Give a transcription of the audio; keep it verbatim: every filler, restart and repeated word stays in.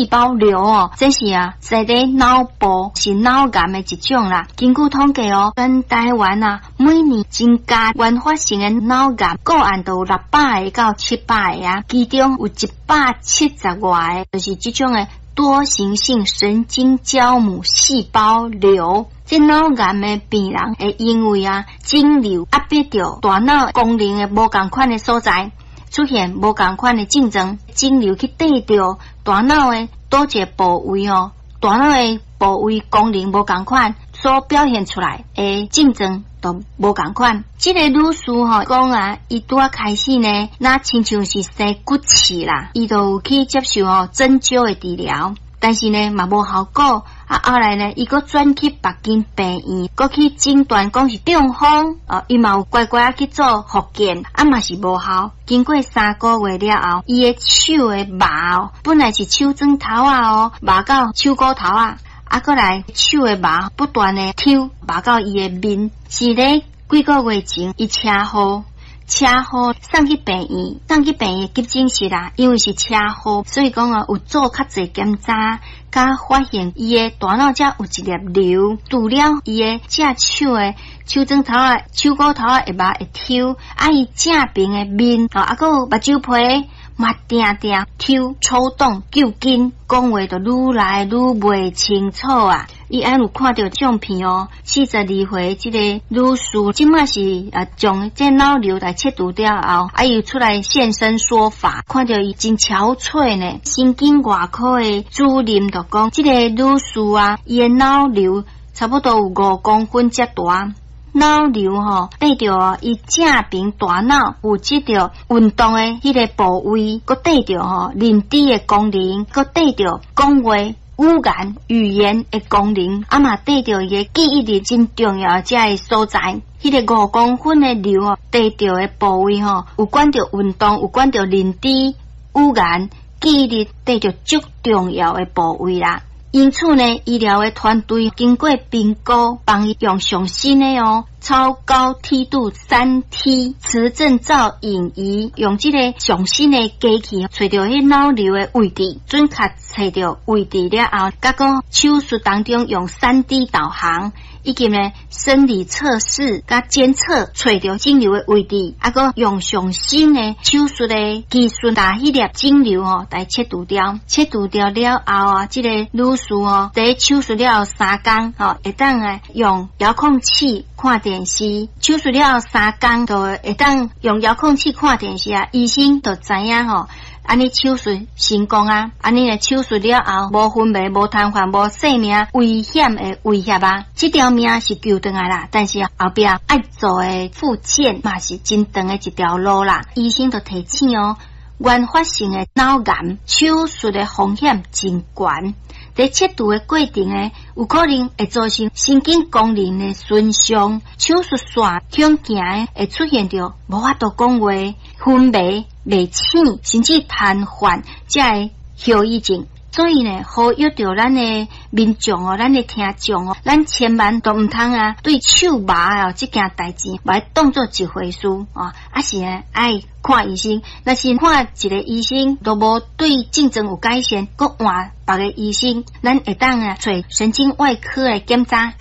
胞瘤哦，這是啊，在佇腦部是腦癌的一種啦。根據統計哦，全台灣啊，每年增加原發性的腦癌個案都有六百个到七百个啊，其中有一百七十外个，就是這種的多形性神經膠母細胞瘤。這腦癌的病人會因為啊，腫瘤壓迫著大腦功能的無仝款的所在，出現無仝款的症狀，腫瘤去綴著大腦的佗一個部位哦，大腦的部位功能無仝款，所表現出來的症狀都無仝款。這个女士吼講啊，伊拄仔開始呢，若親像是生骨刺啦，伊就有去接受吼針灸的治療，但是呢嘛無效果。啊，後來呢，伊閣轉去別間病院，閣去診斷講是中風，哦，伊嘛有乖乖仔去做復健，啊嘛是無效。經過三個月了後，伊的手的麻哦，本來是手指頭仔哦，麻到手骨頭仔，啊，閣來手的麻不斷的抽，麻到伊的面，是咧幾個月前，伊車禍。車禍送去病院，送去病院急診室啦。因為是車禍，所以講啊，有做較濟檢查，佮發現伊的大腦遮有一粒瘤，除了伊的正手的手指頭仔、手骨頭仔會麻會抽，啊，伊正爿的面，啊，閣有目睭皮嘛定定抽抽動、揪筋，講話就愈來愈袂清楚啊！伊按有看著相片哦，四十二歲這个女士，這馬是啊，將這腦瘤來切除了後，啊又出來現身說法，看著伊真憔悴呢。神經外科的主任就講，這個女士啊，伊的腦瘤差不多有五公分遮大。腦瘤吼，綴著伊正爿大腦負責著運動的彼个部位，閣綴著吼認知的功能，閣綴著講話語言語言的功能，啊嘛綴著伊的記憶力真重要的這个所在。彼个五公分的瘤哦，綴著的部位吼，有關著運動，有關著認知、語言、記憶力，綴著足重要的部位啦。因此呢，醫療的團隊經過評估，幫伊用上新的哦超高梯度三 T 磁振造影儀，用這个上新的機器，揣著彼腦瘤的位置，準確揣著位置了後，佮閣手術當中用三 D 導航，以及呢生理測試佮監測，揣著腫瘤的位置，啊閣用上新的手術的技術，共彼粒腫瘤吼來切除掉。切除掉了後啊，這个女士哦，佇手術了後三工吼，會當來用遙控器看電視。手術了後三工就會當用遙控器看電視啊，醫生就知影吼，按呢手術成功啊！按呢手術了後，無昏迷、無癱瘓、無性命危險的威脅啊！這條命是救轉來啦，但是後壁愛做的復健嘛是真長的一條路啦。醫生就提醒哦，原發性的腦癌手術的風險真懸。佇切除的過程呢，有可能會造成神經功能的損傷，手術線向行的會出現著無法度講話、昏迷、袂醒，甚至癱瘓，這个後遺症。所以呢，呼籲著咱的民眾哦，咱的聽眾哦，咱千萬都毋通啊，對手麻哦這件代誌，來當做一回事哦，啊是呢，愛看醫生。若是看一個醫生都無對症狀有改善，閣換別个醫生，咱會當啊揣神經外科來檢查。